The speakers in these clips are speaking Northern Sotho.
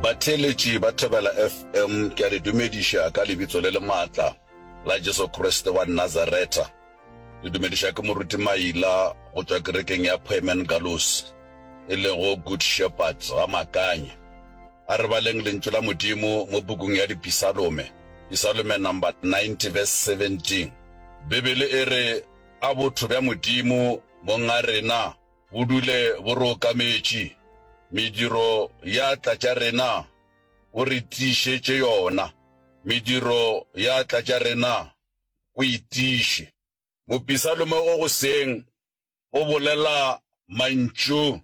Batheeletši ba Thobela FM, ke a le dumediša ka lebitso le le maatla la Jesu Kriste wa Nazaretha. Le dumediša ke Moruti Maila go tšwa kerekeng ya Poemen Galus, e lego Good Shepherd ga Makanye. A re baleng Lentšu la Modimo mo pukung ya Dipisalome, Pisalome number 90 verse 17. Bibele e re, A botho bja Modimo Mong a rena bo dule bo re okametše, mediro ya atla tša rena o re tiišetše yona, mediro ya atla tša rena o e tiiše. Mopisalome o goseng o bolela mantšu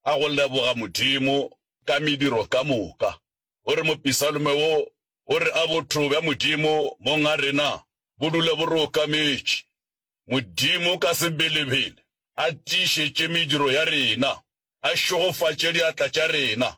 a go leboga Modimo ka mediro ka moka. O re mopisalome wo o re a botho bja Modimo Mong a rena bo dule bo re okametše. Modimo ka sebelebele a tiišetše mediro ya rena, a šegofatše diatla tša rena,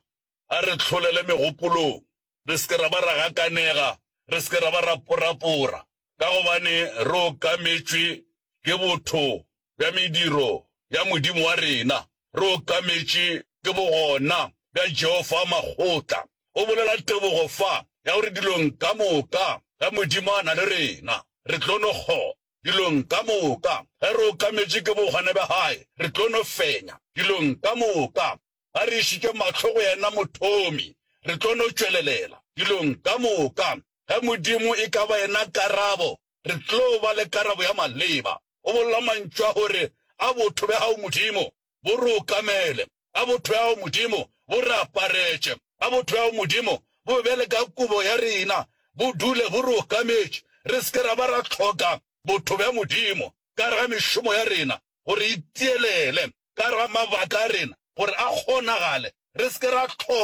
a re hlolele megopolong, re se ke ra ba ra gakanega, re se ke ra ba ra porapora, ka gobane re okametšwe ke botho bja mediro ya Modimo wa rena, re okametše ke bogona bja Jehofa wa makgotla. O bolela tebogo fa ya gore dilong ka moka ge Modimo a na le rena, re tlo no kgona. Dilong ka moka, ge re okametše ke bogona bja Hae, re tlo no fenya. Dilong ka moka, ge re išitše mahlo go Yena Mothomi, re tlo no tšwelelela. Dilong ka moka, ge Modimo e ka ba Yena karabo, re tlo ba le karabo ya maleba. O bolela mantšu a gore, A botho bja Gago, Modimo, bo re okamele. A botho bja Gago, Modimo, bo re aparetše. A botho bja Gago, Modimo, bo be bjale ka kobo ya rena, bo dule bo re okametše. Re se ke ra ba ra hloka botho bja Modimo ka gare ga mešomo ya rena gore e tielele, ka gare ga mabaka a rena gore a kgonagale. Re se ke ra hloka.